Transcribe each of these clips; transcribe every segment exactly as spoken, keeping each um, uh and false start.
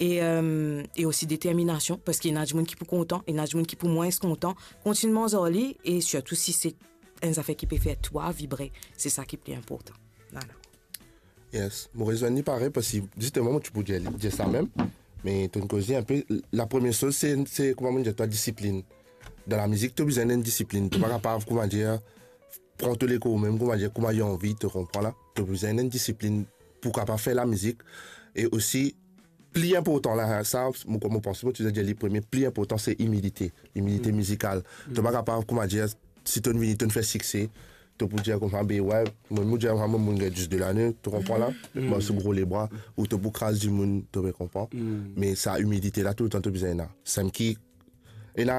e, euh, e osi determinasion, parski ena dimoun ki pou kontan, ena dimoun ki pou mwins kontan. Kontign manz ar li, e sirtou si se enn zafer ki pe fer twa vibre, se sa ki pli inportan. Vwala. Yes, mo rezwenn li parey, parski zisteman, mo ti pou dir, dir sa mem, me to'nn koze inpe, la premie soz, se, se, kouma mo dir twa, disiplin. Dan lamizik, to bizin enn disiplin. To pa kapav, kouma dir, pran to lekor mem, kouma dir, kouma li anvi, to konpran la. To bizin enn disiplin pou kapav fer lamizik. E osi, pli inportan la, sa, mo, mo panse, mo ti dir li premie, pli inportan, se imilite. Imilite mizikal. To pa kapav, kouma dir, si to'nn vini, to'nn fer sikse, to pou dir koumsa, be, wey, mo, mo dir, mo, mo, mo'nn gagn dis de lane, to konpran la? Mo, se gro lebra, ou to pou kraz dimoun, to pe konpran. Me sa, imilite la, toultan to bizin ena. Samem ki, ena,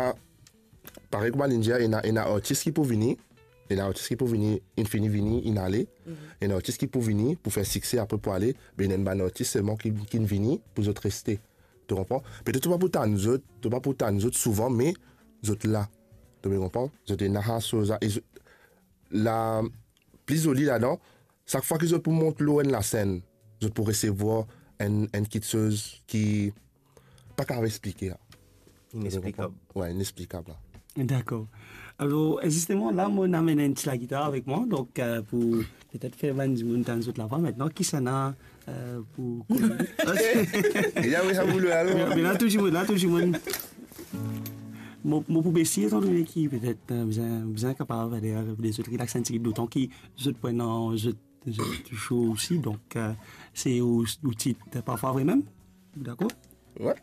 parey kouma linn dir, ena, ena artis ki pou vini, ena artis ki pou vini, inn fini vini, inn ale, ena artis ki pou vini pou fer sikse, apre pou ale, be ena enn bann artis selman ki, ki'nn vini pou zot reste. To konpran? Petet to pa pou tann zot, to pa pou tann zot souvan, me zot la. To pe konpran? Zot ena sa soz la, e zot, la, pli zoli ladan, sak fwa ki zot pou mont lor enn lasenn, zot pou resevwar enn, enn kiksoz ki pa kapav explike la. Inexplikab. Wey, inexplikab la. Dakor. Alor, zisteman, la, mo'nn amenn enn ti lagitar avek mwa, donk, euh, pou petet fer bann dimoun tann zot lavwa. Aster, kisannla, euh, pou Ya, wi, sa boule, alor. Me, me la, tou dimoun, la, tou dimoun. Mo, mo pou bese, etan done ki petet, euh, bizin, bizin kapav, ale, lezot rilaks enn tigit, dotan ki zot pou ena, zot, zot show osi, donk, euh, se ou, ou tit, parfwa vre mem, dakor? Wey.